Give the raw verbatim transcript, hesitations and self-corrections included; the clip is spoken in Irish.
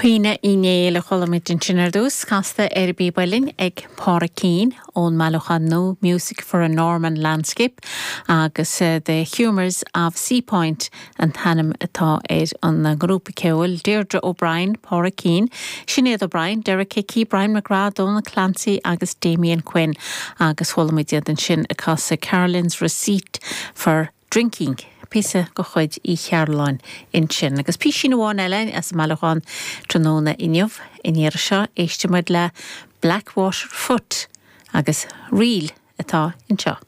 Caoineadh Uí Néill a chuala muid ansin ar dtús casta ar an bpíb uilleann ag Pádraig Keane ón mbailiúchán nua Music for a Norman Landscape agus uh, The Humours of Seapoint an t-ainm atá ar an ngrúpa ceoil Deirdre O'Brien, Pádraig Keane, Sinéad O'Brien, Derek Hickey, Brian McGrath, Donal Clancy agus Damien Quinn agus chuala muid iad ansin ag casadh Carolyn's Receipt for Drinking. píosa de chuid Uí Chearúlláin ansin agus píosa amháin eile as an mbailiúchán tráthnóna inniu in iar seo éistfimid le Blackwater Foot agus ríl atá anseo.